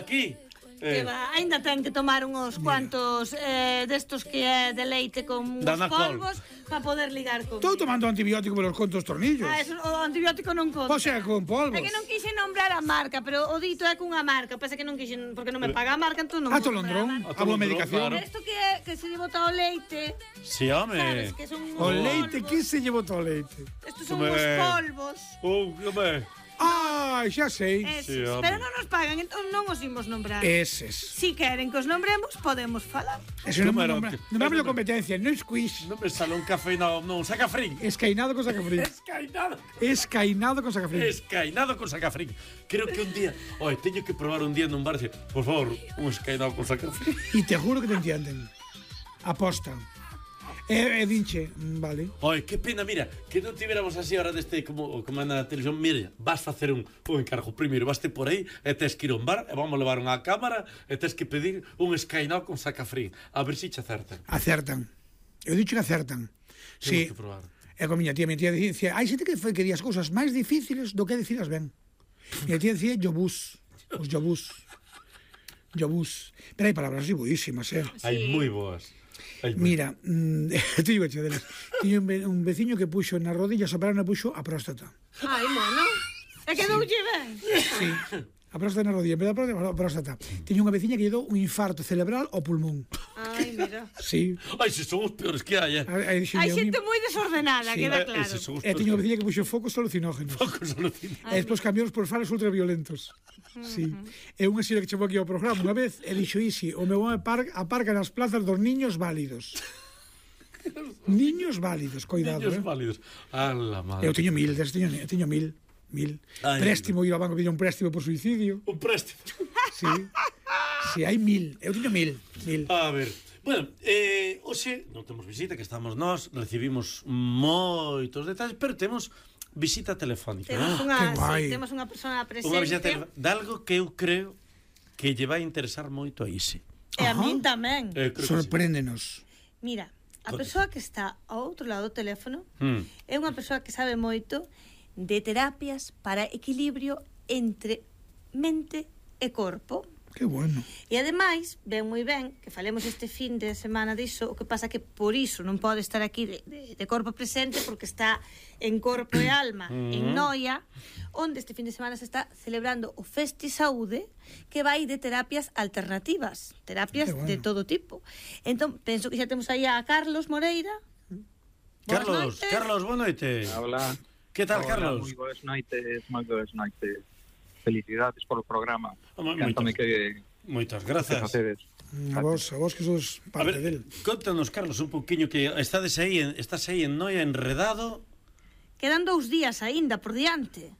aquí. Que va, ainda ten que tomar uns cuantos destos que é de leite con uns polvos para poder ligar con. Estou tomando antibiótico pelos contos tornillos. Eso, o antibiótico non conta. Pois é, con polvos. É que non quixen nombrar a marca, pero o dito é cunha marca. Pasa que non quixen, porque non me paga a marca, entón non. Atolondrón, a boa medicación. Isto que é, que se lle bota o leite. Si, home. Sabes que son O leite, que se lle bota o leite? Estos son os polvos. Home. Ai, xa sei. Eses, pero non nos pagan, entón non os imos nombrar. Eses. Si queren que os nombremos, podemos falar. Eso non nombrame competencia, non es quiz. Non me sale un café, non, sacafrín. Escainado con sacafrín. Escainado con sacafrín. Escainado con sacafrín. Creo que un día, teño que probar un día nun bar, por favor, un escainado con sacafrín. E te juro que te entienden. Aposta. E dinche, vale. Que pena, mira, que non tivéramos así ahora deste como na televisión. Mira, vas facer un encargo. Primeiro, vaste por aí e tes que ir a un bar e vamos levar unha cámara e tes que pedir un escainado con sacafrín. A ver se che acertan. Acertan. Eu dicho que acertan. Temos que probar. E con miña tía dicía, hai xente que di as cousas máis difíciles do que dicilas ben. Miña tía dicía yobús. Os yobús. Yobús. Pero hai palabras buísimas, Hai moi boas. Mira, te digo delas. Tiño un veciño que puxo na rodilla, sopraron e puxo a próstata. Ai, mono. É que non lle ben. Sí. A próstata na rodilla, en vez da próstata. Tiño unha veciña que lle dou un infarto cerebral ao pulmón. Ai, mira. Sí. Ai, se son os peores que hai, Hai xente moi desordenada, queda claro. E tiño unha veciña que puxo focos alucinógenos. E despois cambiamos por faros ultraviolentos. Sí. É unha señora que chamou aquí ao programa unha vez e dixo Isi, o meu home aparca nas plazas dos niños válidos. Niños válidos, coidado. Niños válidos. Ala, madre. Eu teño 1000, teño 1000. Préstimo, ir ao banco pedir un préstimo por suicidio. Un préstimo. Sí, hai 1000. Eu teño 1000. A ver. Bueno, hoxe non temos visita, que estamos nós, recibimos moitos detalles, pero temos visita telefónica. Temos unha persona presente. Unha visita telefónica de algo que eu creo que lle vai interesar moito a Isi. E a min tamén. Sorpréndenos. Mira, a persoa que está ao outro lado do teléfono é unha persoa que sabe moito de terapias para equilibrio entre mente e corpo. Que bueno. E ademais, ven moi ben que falemos este fin de semana diso, o que pasa que por iso non pode estar aquí de corpo presente, porque está en corpo e alma en Noia, onde este fin de semana se está celebrando o Festi Saúde, que vai de terapias alternativas, terapias de todo tipo. Entón, penso que xa temos aí a Carlos Moreira. Carlos, boa noite. Hola. Que tal, Carlos? Moi boas noites. Felicidades polo programa. Moitas grazas. A vos que sos parte del. Contanos, Carlos, un poquinho que estás aí en Noia enredado. Quedan 2 días aínda por diante.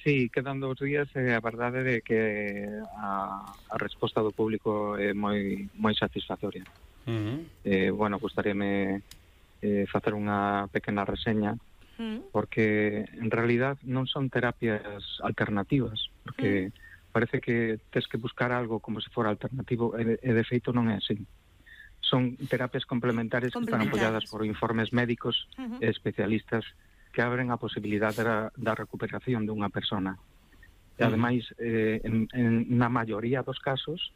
Sí, quedan 2 días e a verdade é que a resposta do público é moi satisfactoria. Bueno, gustaríame facer unha pequena reseña, porque en realidad non son terapias alternativas, porque parece que tes que buscar algo como se fora alternativo e de feito non é así. Son terapias complementarias que están apoyadas por informes médicos e especialistas que abren a posibilidade da recuperación dunha persona. E ademais, na maioría dos casos,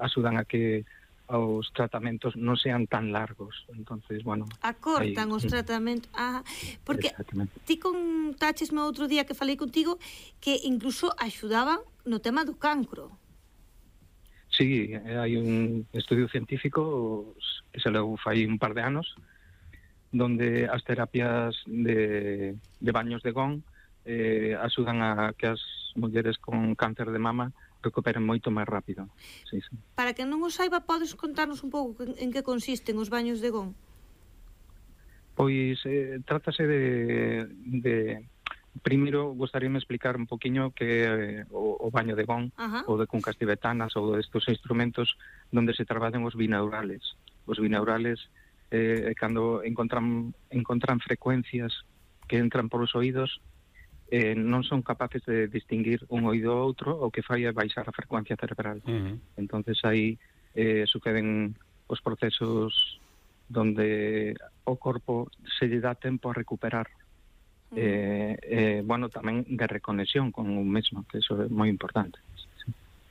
axudan a que os tratamentos non sean tan largos. Entonces, bueno, acortan os tratamentos. Porque ti contaches no outro día que falei contigo que incluso axudaban no tema do cancro. Sí, hai un estudio científico que se leu fai un par de anos, donde as terapias de baños de gón axudan a que as mulleres con cáncer de mama recuperen moito máis rápido. Sí. Para que non o saiba, podes contarnos un pouco en que consisten os baños de gón? Pois trátase de primeiro gostaríame explicar un poquinho que o baño de gón ou de cuncas tibetanas ou destos instrumentos donde se traballan os binaurales. Os binaurales cando encontran frecuencias que entran polos oídos, non son capaces de distinguir un oído ou outro, o que fai é baixar a frecuencia cerebral. Entonces aí suceden os procesos donde o corpo se lle dá tempo a recuperar. Bueno, tamén de reconexión con un mesmo, que eso é moi importante.